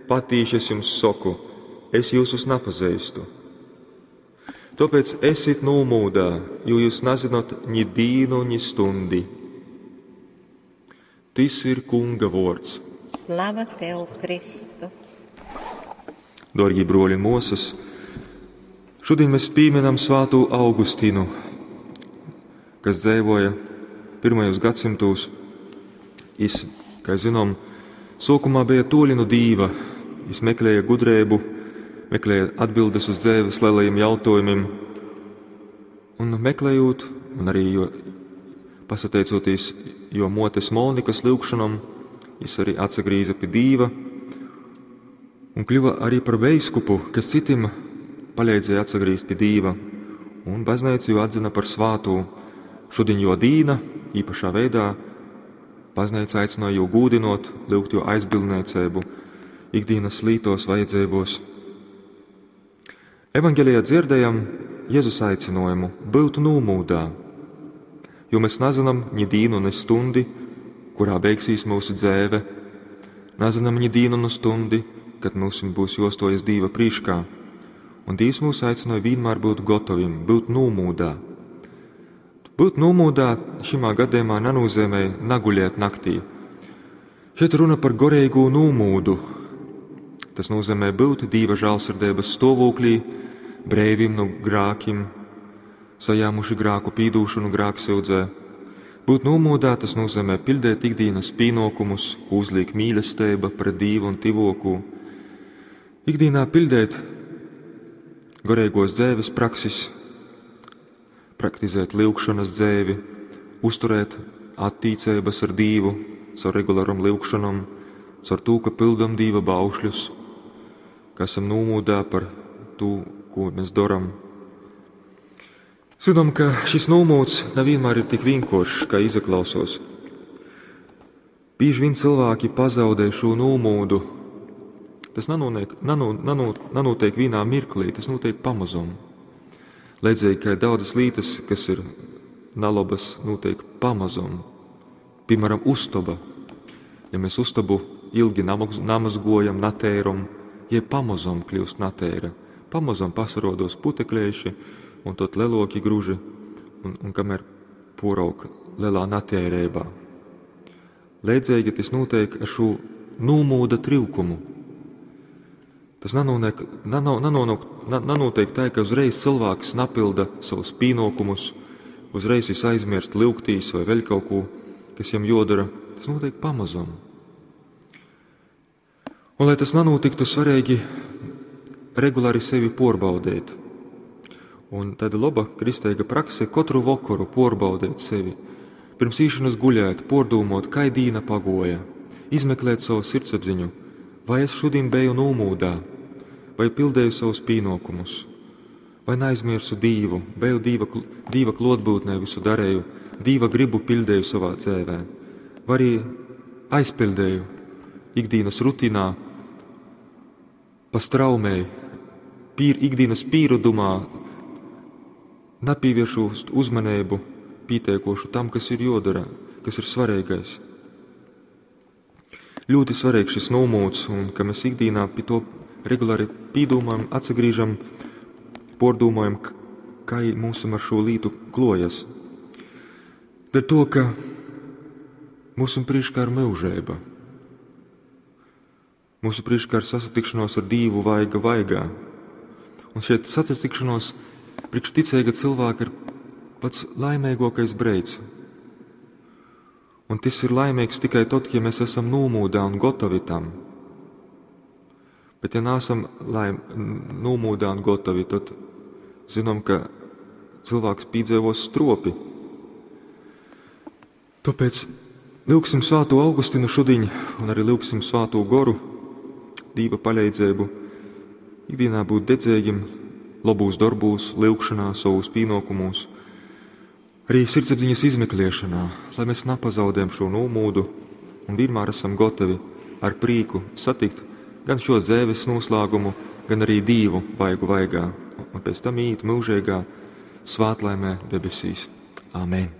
patīši es jums soku, es jyusus napazeistu. Tōpēc esit nūmūdā, jo jūs nazinot ni dīnu, ni stundi. Tys ir Kunga vōrds. Slava tev, Kristu! Dōrgī brōļi un mōsas, šodien mēs pīminam svātū Augustinu, kas dzeivoja pirmajos gadsimtos. Jis, kā zinām, sōkumā bija toļi no Dīva. Jis meklēja gudrību, meklēja atbildes uz dzīves lielajiem jautājumiem. Un meklējot, un arī jo, pasateicoties jo motes Monikas lūgšanam, jis arī atsagrīza pie Dīva un kļuva arī par veiskupu, kas citim palīdzēja atsagrīzt pie Dīva. Un baznīca jū atzina par svātū. Šodien jo dīna, īpašā veidā, baznīca aicināja jū gūdinot, lūgt jo aizbildniecību ikdienas lītos vajadzībos. Evangelijā dzirdējam Jēzus aicinājumu būt nūmūdā, jo mēs nezinām ni dīnu, ni stundi, kurā beigsies mūsu dzēve, nezinām ni dīnu, ni stundi, kad mums būs jostojas Dīva prīškā. Un Dievs mūs aicināja vienmēr būt gatavim, būt nūmūdā. Būt nūmūdā šimā gadījumā nenozīmē naguļēt naktī. Šeit runa par gorīgo nūmūdu. Tas nozīmē būt Dieva žēlsirdības stāvoklī, breivim no grākim, sajāmuši grāku pīdūšanu grāksūdzē. Būt nomūdā tas nozīmē pildēt ikdienas pienākumus, ko uzliek mīlestība pret Dievu un tivokū. Ikdienā pildēt garīgos dzēves praksis, praktizēt lūgšanas dzēvi, uzturēt attīcības ar Dievu caur regularam lūgšanam, caur to, ka pildam Dieva baušļus, ka esam nomūdā par to, ko mēs darām. Zinām, ka šis nomūds nevienmēr ir tik vienkāršs, kā izaklausos. Bieži vien cilvēki pazaudē šo nomūdu. Tas nanotiek, nano, nano, nanotiek vienā mirklī, tas notiek pamazom. Līdzīgi, kā daudzas lietas, kas ir nalabas, notiek pamazom. Piemēram, uztaba. Ja mēs uztabu ilgi namazgojam, natēram, ja pamazom kļūst natēra. Pamazom pasarodos putekļieši un tot leloki gruži, un, un kamēr porauk lielā natērībā. Līdzīgi tas notiek ar šo nūmūda trūkumu. Tas nanonāk, nano, nanonāk, nanotiek tā, ka uzreiz cilvēks napilda savus pienākumus, uzreiz viņš aizmirst lūgtīs vai vēl kaut ko, kas viņam jodara. Tas notiek pamazam. Un, lai tas nenotiktu, svarīgi regulāri sevi porbaudēt. Un tāda laba kristīga prakse katru vakaru porbaudēt sevi. Pirms īšanas guļēt, pordūmot, kai dīna pagoja, izmeklēt savu sirdsapziņu, vai es šodien biju nomūdā, vai pildēju savus pienākumus, vai neaizmirsu Dīvu, biju Dīva, Dīva klotbūtnē visu darēju, Dīva gribu pildēju savā dzēvē, vai arī aizpildēju ikdienas rutīnā, pa straumēji, pīr, ikdienas pīrudumā, nepievēršot uzmanību pieteikošu tam, kas ir jodara, kas ir svarīgais. Ļoti svarīgs šis nomūds, un ka mēs ikdienā pie to regulāri pīdūmājam, atsagrīžam, pordūmājam, kā mums ar šo lītu klojas. Dēļ to, ka mūsu priekšā ir mūžība. Mūsu priekšā ir sasatikšanos ar Dievu vaiga vaigā. Un šeit sasatikšanos priekš ticīga cilvēka ir pats laimīgākais breids. Un tas ir laimīgs tikai tad, ja mēs esam nomūdā un gatavi tam. Bet ja neesam laim, nomūdā un gatavi, tad zinām, ka cilvēks piedzīvos stropi. Tāpēc lūgsim Svēto Augustinu šodien un arī lūgsim Svēto Goru, Dīva palīdzību, ikdienā būt dedzīgiem, labūs darbūs, lūgšanā, savos pienākumos, arī sirdsapziņas izmeklēšanā, lai mēs nepazaudējam šo nomūdu un vienmēr esam gatavi ar prieku satikt gan šo zēves noslēgumu, gan arī Dievu vaigu vaigā, un pēc tam iet mūžīgā svētlaimē debesīs. Āmen!